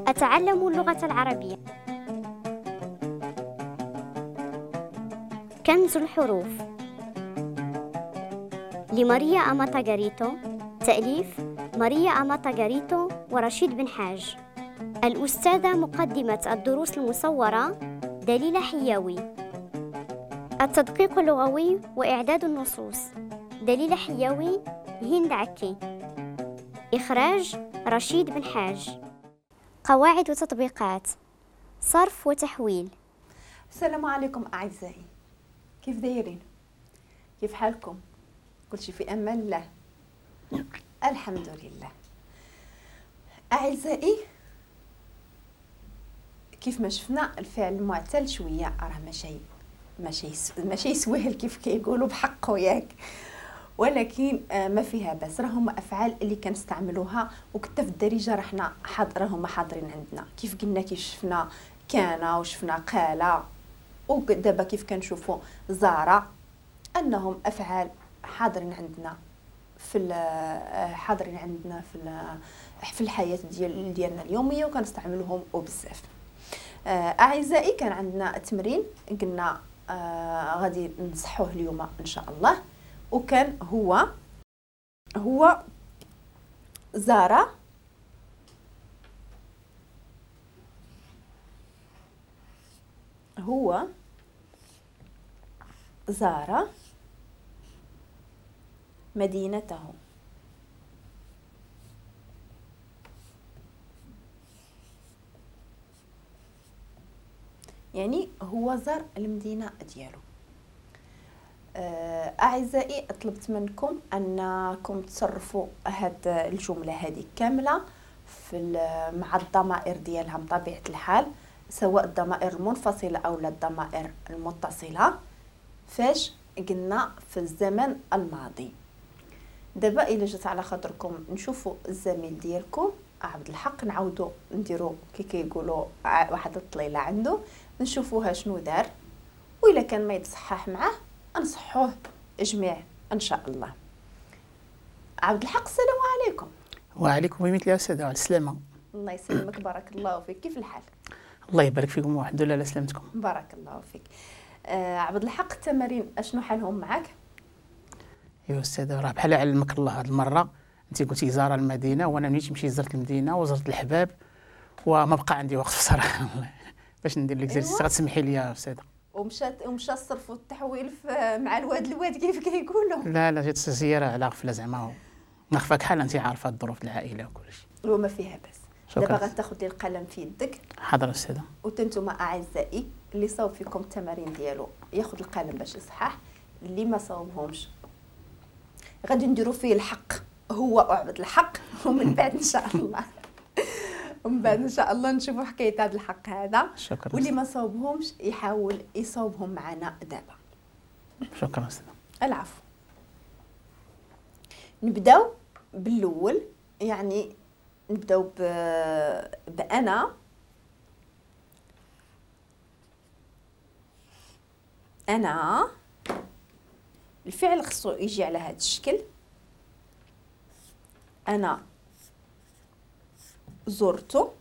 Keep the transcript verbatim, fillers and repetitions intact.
أتعلم اللغة العربية. كنز الحروف لماريا أماتا غاريتو، تأليف ماريا أماتا غاريتو ورشيد بن حاج. الأستاذة مقدمة الدروس المصورة دليلة حياوي. التدقيق اللغوي وإعداد النصوص دليلة حياوي، هند عكي. إخراج رشيد بن حاج. قواعد وتطبيقات، صرف وتحويل. السلام عليكم أعزائي، كيف دايرين؟ كيف حالكم؟ كلشي في أمان الله، الحمد لله. أعزائي، كيف ما شفنا الفعل المعتل شوية راه ماشي ماشي ماشي سهل كيف كيقولوا بحقه، ياك، ولكن ما فيها بس، راهم افعال اللي كنستعملوها وكتا في الدارجة راه حنا راهم حاضرين عندنا. كيف قلنا، كيف شفنا كان وشفنا قال، ودابا كيف كنشوفوا زار، انهم افعال حاضرين عندنا في حاضرين عندنا في في الحياة ديال ديالنا اليومية وكنستعملوهم وبزاف. اعزائي، كان عندنا تمرين قلنا آه غادي نصحوه اليوم ان شاء الله، وكان هو هو زار هو زار مدينته. يعني هو زار المدينة ديالو. أعزائي، طلبت منكم أنكم تصرفوا هاد الجملة هذه كاملة في مع الضمائر ديالها بطبيعة الحال، سواء الضمائر المنفصلة أو لا الضمائر المتصلة، فاش قلنا في الزمن الماضي. دابا إلا جات على خاطركم نشوفوا الزميل ديالكم عبد الحق، نعاودوا نديروا كي كيقولوا واحد الطليله عنده، نشوفوها شنو دار، وإلا كان ما يتصحح معاه نصحوه جميع ان شاء الله. عبد الحق، السلام عليكم. وعليكم بمثل يا استاذه، على السلامة. الله يسلمك، بارك الله فيك. كيف الحال؟ الله يبارك فيكم والحمد لله على سلامتكم. بارك الله فيك. آه عبد الحق، التمارين اشنو حالهم معاك؟ يا استاذه، راه بحال علمك الله هذه المرة، انت قلتي زار المدينة وانا ملي مشيت زرت المدينة وزرت الحباب وما بقى عندي وقت بصراحة باش ندير لك زرت. غتسمحي لي يا استاذه. ومشات ومشى الصرف والتحويل مع الواد الواد كيف كيقولوا. لا لا، جات الزيارة على غفلة زعما، ما خفاك حال، انت عارفه الظروف العائلة وكلشي. وما فيها بس. دابا غتاخذ لي القلم في يدك. حاضر استاذه. وانتم اعزائي اللي صاوب فيكم التمارين ديالو ياخذ القلم باش يصحح، اللي ما صاوبهمش غادي نديروا فيه الحق، هو عبد الحق، ومن بعد ان شاء الله ومن بعد ان شاء الله نشوفوا حكاية هذا الحق هذا. شكرا. واللي ما صوبهمش يحاول يصوبهم معنا دابا. شكرا استاذ. العفو. نبداو بالاول، يعني نبداو ب... بانا انا الفعل خصو يجي على هذا الشكل. انا زرت